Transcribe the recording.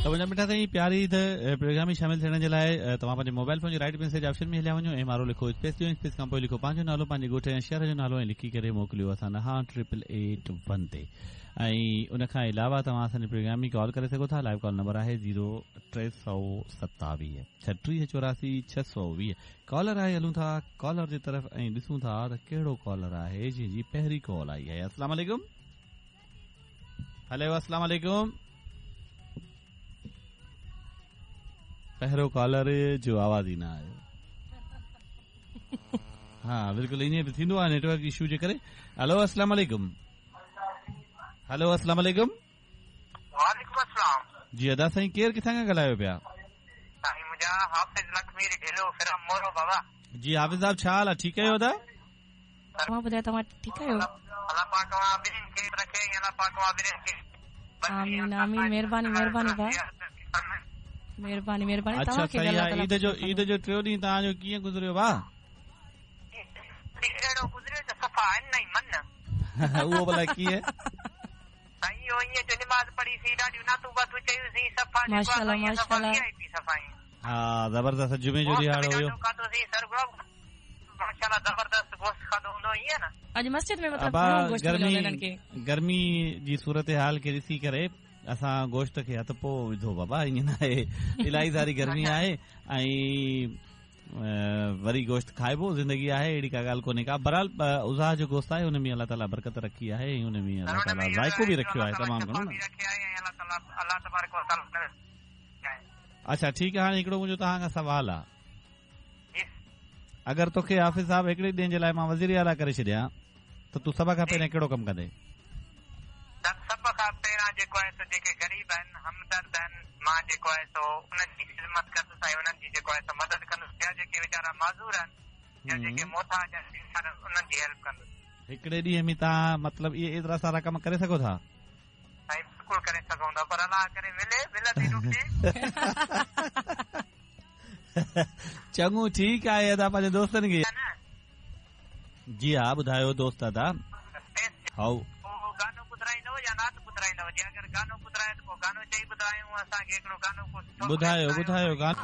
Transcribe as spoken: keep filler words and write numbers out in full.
त मुंहिंजा मिठा साईं, प्यारी ईद प्रोग्राम में शामिल थियण जे लाइ तव्हां पंहिंजे मोबाइल फ़ोन जे राइट मैसेज ऑप्शन में हलिया वञो, एम आर ओ लिखो, स्पेस ॾियो, स्पेस खां पोइ लिखो पंहिंजो नालो, पंहिंजे ॻोठ ऐं शहर जो नालो ऐं लिखी करे मोकिलियो असां ॾांहुं ट्रिपल एट वन ते। ऐं उन खां अलावा तव्हां असांजे प्रोग्राम में कॉल करे सघो था। लाइव कॉल नंबर आहे ज़ीरो टे सौ सतावीह छटीह चौरासी छह सौ वीह। कॉलर आहे, हलूं था कॉलर जी तरफ़ ऐं ॾिसूं था त कहिड़ो कॉलर आहे जंहिंजी पहिरीं कॉल आई आहे। अस्सलाम वालेकुम। हेलो, अस्सलाम वालेकुम। पहिरियों कॉलर जो आवाज़ ई न आयो। हा बिल्कुलु ईअं बि थींदो आहे नेटवर्क इशू जे करे। हेलो, अस्सलाम वालेकुम। हेलो, अस्सलाम वालेकुम। वालेकुम अस्सलाम। जी अदा साईं, केरु किथां खां ॻाल्हायो पिया? साईं मुंहिंजा हाफ़िज़ लखमीर ढिलो फिरम मोरो बाबा। जी हाफ़िज़ साहब, छा हाल आहे? ठीकु आहियो अदा? तव्हां ॿुधायो, तव्हां ठीकु आहियो? अलाह पाक तव्हां ॿिन्हिनि खे रखे, अलाह पाक तव्हां ॿिन्हिनि खे। आमीन आमीन, महिरबानी महिरबानी भाउ, महिरबानी महिरबानी। अच्छा सही आहे। ईद जो ईद जो टियों ॾींहुं तव्हांजो कीअं गुज़रियो भाउ? अहिड़ो गुज़रियो त सफ़ा आहिनि न ई मन। उहो भला कीअं? साईं इहो ईअं जो नमाज़ पढ़ीसीं, ॾाढियूं नातूं बातूं चयूंसीं, सफ़ा माशाअल्लाह माशाअल्लाह। हा ज़बरदस्त जुमे जो ॾिहाड़ो हुयो। माशाअल्लाह ज़बरदस्त गोश्त खाधो हूंदो ईअं न। अॼु मस्जिद में मतिलबु घणो गोश्त मिलियो हिननि खे। गर्मी जी सूरत हाल खे ॾिसी करे असां गोश्त खे हथु पोइ विधो बाबा, ईअं न आहे, इलाही सारी गर्मी आहे ऐं वरी गोश्त खाइबो, ज़िंदगी आहे, अहिड़ी का ॻाल्हि कोन्हे का। बहरहाल उज़ा जो गोश्त आहे उन में अलाह ताला बरकत रखी आहे ऐं उन में अलाह ताला ज़ाइको बि रखियो आहे तमामु घणो न। अच्छा ठीकु आहे, हाणे हिकिड़ो मुंहिंजो तव्हां खां सवाल आहे, अगरि तोखे हाफ़िज़ साहिबु हिकिड़े ॾींहं जे लाइ मां वज़ीर आला करे छॾियां त तूं सभ खां पहिरियां कहिड़ो कमु कंदे? सभ खां पहिरियां जेको आहे सो जेके ग़रीब आहिनि, हमदर्द आहिनि, मां जेको आहे सो उन्हनि जी ख़िदमत कंदुसि ऐं उन्हनि जी जेको आहे सो मदद कंदुसि, या जेके वीचारा माज़ूर आहिनि या जेके मोहताज आहिनि उन्हनि जी हेल्प कंदुसि। हिकिड़े ॾींहं में तव्हां मतिलबु इहे एतिरा सारा कम करे सघो था? साईं बिल्कुलु करे सघूं था, पर अलाह करे मिले, मिलंदी ॾुखी। चङो ठीकु आहे अदा, पंहिंजे दोस्तनि खे। जी हा ॿुधायो दोस्त अदा। How गानो ॿुधाईंदव या नात ॿुधाईंदव? जे अगरि गानो ॿुधाए त पोइ गानो चई ॿुधायूं असांखे, हिकिड़ो गानो ॿुधायो ॿुधायो गानो।